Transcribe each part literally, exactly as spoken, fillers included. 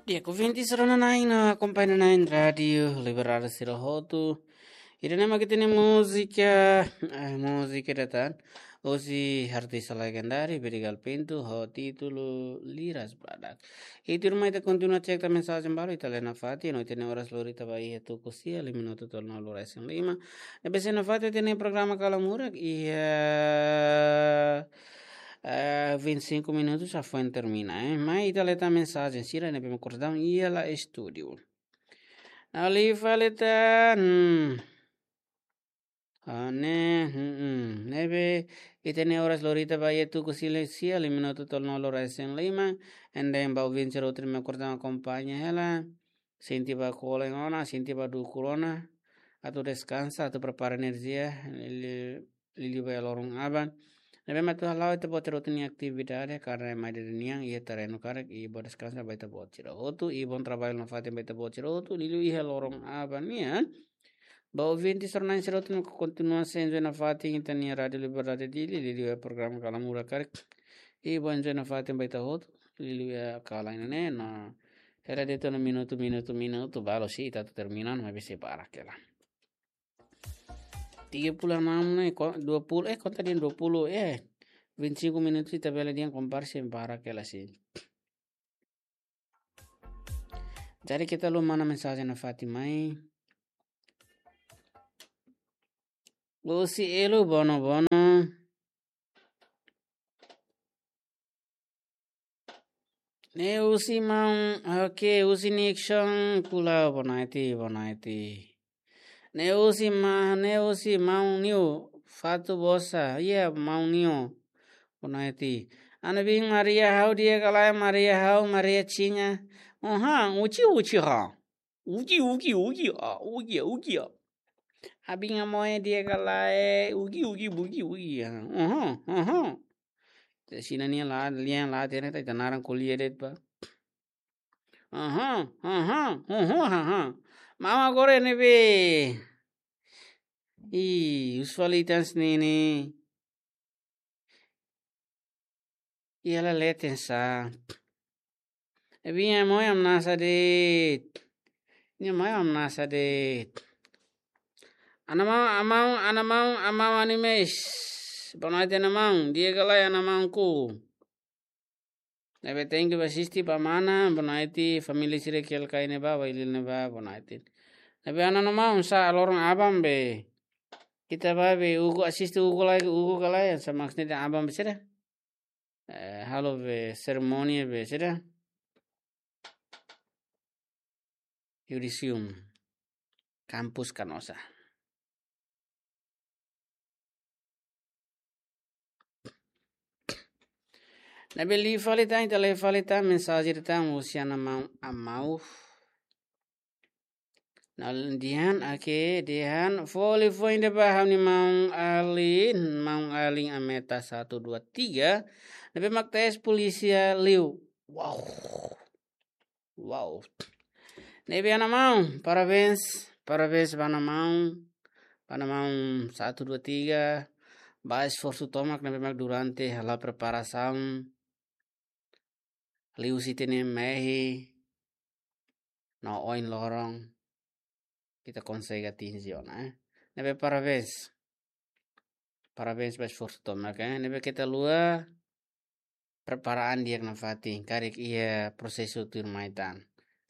Di'ak, ouvinte sira-na'in no akompañante-na'in Rádiu Liberdade sira hotu. Ida-ne'e mak ita-nia múzika, eh, múzika ida tan. Husi artista legendáriu Vidigal Pinto, ho títulu Liras Badak. I tuirmai ita kontinua cek tan mensajen balu, ita lee nafatin, no ita-nia oras lori tiha ba iha tuku sia, lima minutu tolu nol resin lima. Ne'ebé sei nafatin ita-nia programa Kalan Murak, iha, eh, vinte e cinco minutos já foi termina, eh. Mai ita lee tan mensajen sira ne'ebé mak kordang iha la estúdiu. Ne'e fali tan, hmm. Ah, ne'e, hmm, hmm. Ne'ebé, ita-nia oras lori tiha ba iha tuku sia, lima minutu tolu nol resin lima. Entaun ba ouvinte sira hotu ne'ebé mak kordang akompaña hela. Sente bá kolen ona, sente bá dukur ona. Atu deskansa, atu prepara enerjia, liuliu, liuliu ba iha loron aban. Ne'ebé mak atu hala'o ita-boot sira hotu nia atividade, karena mai dada nian iha terrenu karik, i bá deskansa ba ita-boot sira hotu, i bom trabalho nafatin ba ita-boot sira hotu, liuliu iha loron aban nian. Ba ouvinte sira-na'in sira hotu ne'ebé kontinua sei enjoy nafatin ita-nia Rádiu Liberdade Dili, liuliu iha programa Kalan Murak karik. I bom enjoy nafatin ba ita hotu, liuliu iha kalan ne'e, no hela de'it ona minutu, minutu, minutu, balu sei ita atu termina, maibé sei barak hela. Tiga puluh enam ne'e, ko-, dua puluh, eh, konta dehan dua puluh, eh, vinte e cinco minutos ita bele dehan kompara sei barak hela sei. Jadi ita lori mana mensajen nafatin mai. Husi Elu Bono Bono. Ne'e husi maun, oke, husi Nixon Kulau, boa noite, boa noite. Ne'e husi ma-, ne'e husi maun Niu, Fatu Bosa, iya, maun Niu, boa noite. Ana bin Maria ha'u di'ak ka lae, Maria ha'u, Maria Chinha. Oha, uchi, uchi ha. Uki, uki, uki, ah, uki, uki, ah. Abin nia moe di'ak ka lae, uki, uki, buki, uki, ah. Aha, aha. Te sina nia la, lian la, tene ta ita naran ko'alia de'it ba. Aha, aha, aha, aha. Maun agora ne'ebé. Ih, usualitas nini. Iha la leten sa. Ne'ebé nia moe hamnasa de'it. Nia moe hamnasa de'it. Ana maun, ana maun, ana maun, ana maun Animes. Boa noite, ana maun. Di'ak ka lae, ana maun ku. Ne'ebé thank you ba asiste ba mana, boa noite, família sira ki'al kai ne'ebá, ba Ilil ne'ebá, boa noite. Ne'ebé ana no maun sa loron aban be. Ita ba be, ugu asiste ugu lai, ugu ka lae, sa maksudnya aban be sira. Eh, halo be serimónia be sira. Yudisium, Kampus Kanosa. Ne'ebé lee fali tan, ita lee fali tan, mensajen tan, husi ana maun Amau. Nah, dehan, oke, dehan, foli foin de'it ba ha'u-nia maun Alin, maun Alin Ameta satu dua tiga. Ne'ebé mak tes polísia liu. Wow. Wow. Ne'ebé ana maun, parabéns, parabéns ba ana maun, ba ana maun satu dua tiga, ba esforsu tomak ne'ebé mak durante hala'o preparasaun, liuhusi ita-nia mehi, no oin loron, ita konsege atinje ona, eh. Ne'ebé parabéns. Parabéns ba esforsu tomak, eh. Ne'ebé keta haluha prepara an di'ak nafatin, karik iha prosesu tuirmai tan.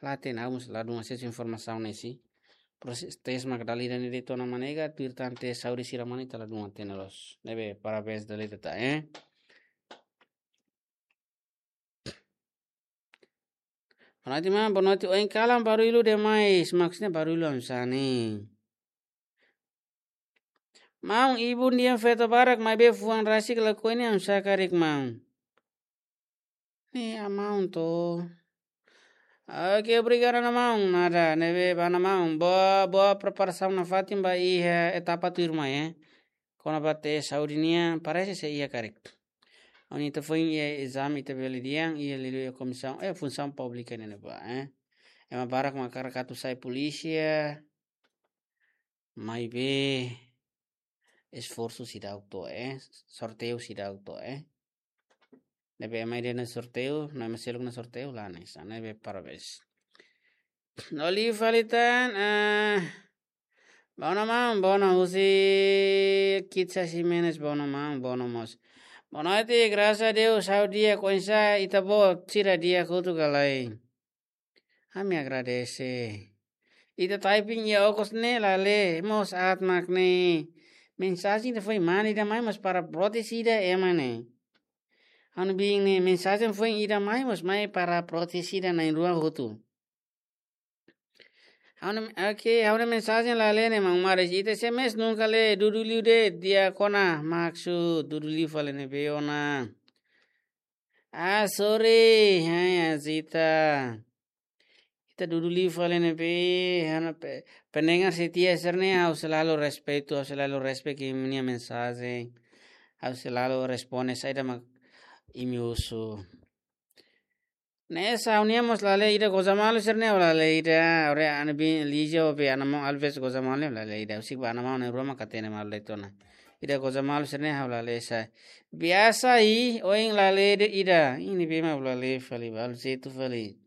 La hatene, ha'u mós ladún asesu informasaun ne'e sei. Prosesu tes mak dala ida ne'e de'it ona mak nega, tuir tan tes saúde sira mak ne'e ita ladún hatene loos. Ne'ebé parabéns dala ida tan, eh. Boa noite, maun. Boa noite. Ohin kalan barullu demais. Maksudnya barullu oinsá ne'e? Maun, ibun dehan feto barak maibé fuan rasik lakohi ne'e oinsá karik, maun? Ne'e, ah, maun to. Oke, obrigadu, ana maun. Nada, ne'ebé ba ana maun. Boa, boa preparasaun nafatin ba iha etapa tuirmai, eh. Kona-ba tes saúde nian, parese sei iha karik. Ohin ita foin iha ezame ita bele dehan, iha liuliu iha komisaun, eh, funsaun públika ne'ebá, eh. Ema barak mak hakarak atu sai polísia, maibé esforsu seidauk to'o, eh, sorteiu seidauk to'o, eh. Ne'ebé ema ida ne'e sorteiu, no ema seluk ne'e sorteiu la hanesan, ne'ebé parabéns. No liu fali tan, ah, bono maun, bono husi Kitsa Ximenes, bono maun, bono mós. Boa noite, graças a Deus, ha'u di'ak, oinsá ita-boot sira di'ak hotu ka lae? Ami agradese. Ita typing iha okos ne'e la lee, mós aat mak ne'e. Mensajen ida foin mane ida mai mós para proteje ida ema ne'e. Ha'u-nia biin ne'e mensajen foin ida mai mós mai para proteje ida na'in-rua hotu. Ha'u-nia, oke, ha'u-nia mensajen la lee ne'e maun Maris. Ita S M S nunka lee, dudu liu de'it, di'ak ona, maksud, dudu liu fali ne'ebé ona. Ah, sorry. Hai, Azita. Ita dudu liu fali ne'ebé, ha'u-nia pe-, pendengar setia sira-ne'e, ha'u selalu respeitu, ha'u selalu respect imi-nia mensajen. Ha'u selalu responde saida mak imi husu. Ne'e sa ha'u-nian mós la lee ida, goza malu sira-ne'e ha'u la lee ida, ore ana bin Lija be ana maun Alves goza malu ne'e la lee ida, husik ba ana maun na'in-rua mak hatene malu de'it ona. Ida goza malu sira-ne'e ha'u la lee sa. Biasa i, ohin la lee de'it ida, ne'ebé mak ha'u la lee fali, ba halo jeitu fali.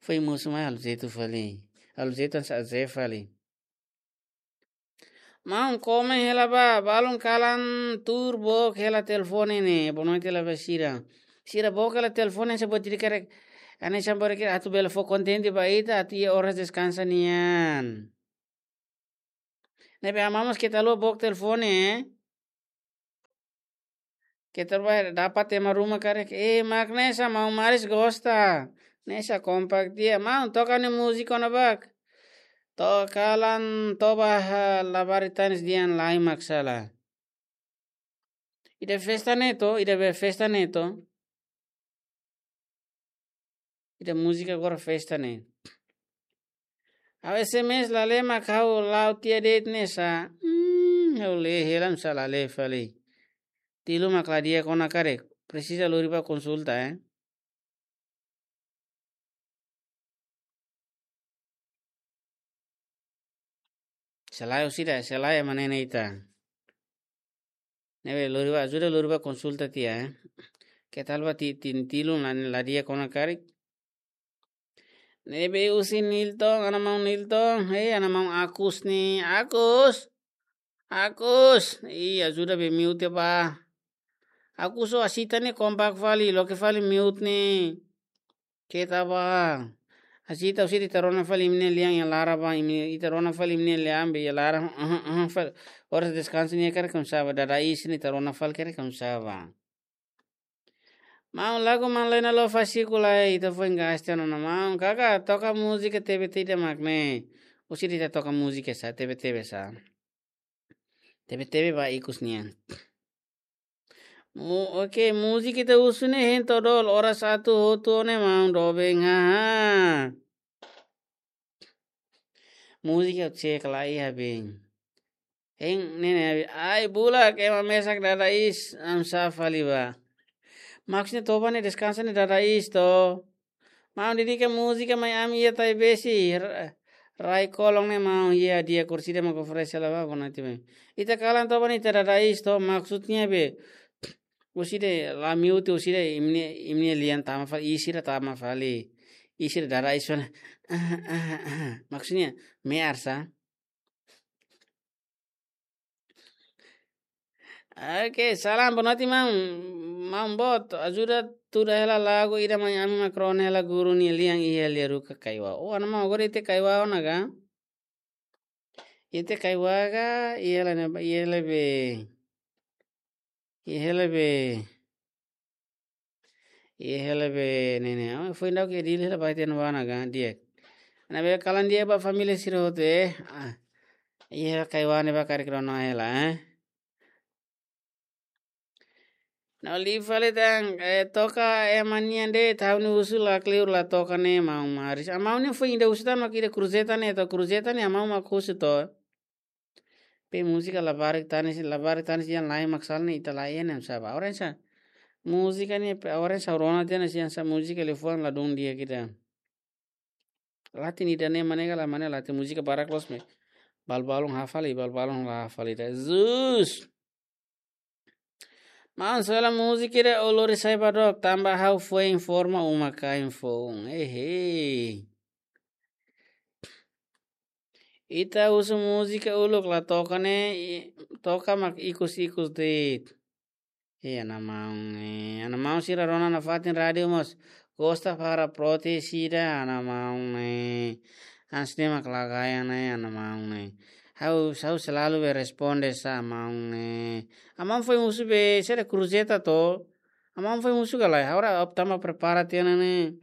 Foin mosu mai halo jeitu fali. Halo jeitu hanesan azeite fali. Maun, komen hela ba, balun kalan tuur book hela telefone ne'e, bonoite la ba sira. Sira book hela telefone se botiri kerek. Hanesan botiri kerek atu bele fó kontente ba ita, atu iha oras deskansa nian. Ne'ebé amamos keta haluha book telefone, eh? Keta ba dapat ema ruma karik. Eh, mak ne'e sa maun Maris gosta. Ne'e sa kompak tiha. Maun, toka ne'e múzika ona bak. Toka lan toba ha labarik tanis dehan lai mak sala. Ida festa ne'e to, ida be festa ne'e to. Ida múzika agora festa ne'e. Ha'u S M S la lee mak ha'u la'o tiha de'it ne'e sa. Hmm, ha'u lee hela nusá la lee fali. Tilun mak la di'ak ona karik. Presiza lori ba konsulta, eh. Selae orsida, selae ema ne'e ita. Ne'ebé lori ba, ajuda lori ba konsulta tiha, eh. Keta haluha ti-, tin tilun la, la di'ak ona karik. Ne'ebé husi Nilton, ana maun Nilton, hei, ana maun Agus ne'e, Agus. Agus, ih, ajuda be mute ba. Agus ho Azita ne'e kompak fali, loke fali mute ne'e. Keta ba. Azita husi ita rona fali imi-nia lian iha laran ba, imi ita rona fali imi-nia lian be iha laran, fali. Oras deskansa ne'e karik oinsá ba, dada iis ne'e ita rona fali karik oinsá ba. Maun, lagu Maun Lena Love Fasiku lai, ita foin gaste ona maun. Kaka, toka múzika tebe tebe mak ne'e. Husi ita toka múzika sa, tebe tebe sa. Tebe tebe ba ikus nian. Mu-, oke, múzika ita husu ne'e hein todol, oras atu hotu ne'e maun doben, haha. Múzika cek lai iha bin. Hein, ne'e ne'e, ai, bulak, ema mesak dada iis, oinsá fali ba. Maksudnya toba ne'e deskansa ne'e dada iis to. Maun, dedika múzika mai ami iha Taibesi, ra-, rai kolong ne'e maun iha di'ak, orsida mak oferese la ba, bonoite be. Ita kalan toba ne'e ita dada iis to, maksudnya be. Orsida la mute, orsida imi-nia, imi-nia lian tama fali, iis sira tama fali. Iis sira dada iis fali. Maksudnya, me'ar sa. Oke, salam, bonoite maun. Maun boot, ajuda tuda hela lagu ida mai ami mak rona hela guru nia lian iha lia ruka kaiwa. Oh, ana maun agora ita kaiwa ona ka? Ita kaiwa ka, iha la ne, iha la be. Iha la be. Iha la be ne'e ne'e. Ah, foin daudauk iha Dili la ba ita no wana ka, di'ak. Ne'ebé kalan di'ak ba família sira hotu, eh. Ah. Iha kaiwa ne'e ba karik rona hela, eh. No liu fali tan, eh, toka ema nian de'it, ha'u-nia husu la kleur la toka ne'e maun Maris. Maun ne'e foin ida husu tan mak ida kruzeta ne'e to, kruzeta ne'e maun mak husu to. Be múzika labarik tanis, labarik tanis dehan lai mak sala ne'e ita la iha ne'e oinsá ba. Oinsá. Múzika ne'e pe, oinsá rona tiha ne'e oinsá múzika liafuan ladún di'ak ida. Latin ida-ne'e mane ka la mane latin múzika barak loos maibé. Balbalun hafal i balbalun la hafal ida. Jesus. Maun, sela múzika ida uluk sai ba dook, tanba ha'u foin forma uma-kain foun. Ehe. Ita husu múzika uluk la toka ne'e, i-, toka mak ikus-ikus de'it. E, ana maun ne'e, ana maun sira rona nafatin rádiu mós gosta para protes ida, ana maun ne'e. Hanesan ne'e mak la gaya ne'e, ana maun ne'e. Ha'u, ha'u selalu be responde sá, maun ne'e. Ana maun foin husu be, sede kruzeta to. Ana maun foin husu ka lae, agora optama prepara tiha ona ne'e.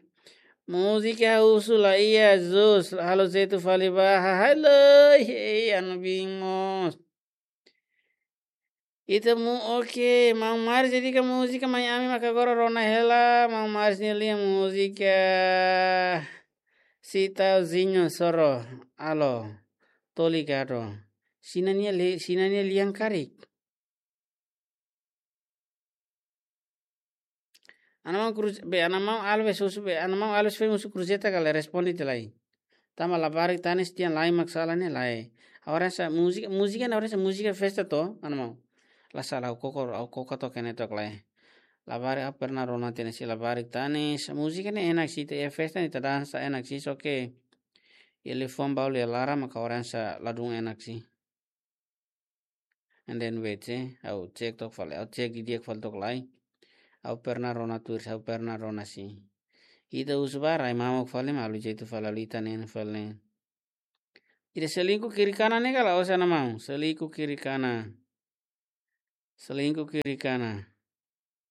Múzika husu la iha, Jesus, halo jeitu fali ba, ha, ha, lai, ei, anu bingos. Ita mu, oke, maun Maris dedika múzika mai ami maka agora rona hela, maun Maris nia lian múzika. Sitauzinho Soro, alô, tô ligado. Sina nia li-, sina nia lian karik. Ana maun kruz-, be, ana maun Alves husu be, ana maun Alves foin husu kruzeta ka lae, responde tiha lai. Tanba labarik tanis tiha lai mak sala ne'e lae. Agora hanesan múzika, múzika ne'e agora hanesan múzika festa to, ana maun. La sala, ha'u koko, ha'u koko took ne'e took lai. Labarik ha'u pernah rona tiha ona sira labarik tanis, múzika ne'e enak sih, iha festa ne'e ita dansa enak sih, só ke iha liafuan balu iha laran maka agora hanesan ladún enak sih. And then wait, eh, ha'u cek took fali, ha'u cek didi'ak fali took lai. Ha'u pernah rona tuir, ha'u pernah rona sih. Ita husu ba rai mamuk fali, malu jeitu fali, halo ita neen fali. Ida selingkuh kiri kanan ne'e ka lae, osan ana maun? Selingkuh kiri kanan. Selingkuh kiri kanan.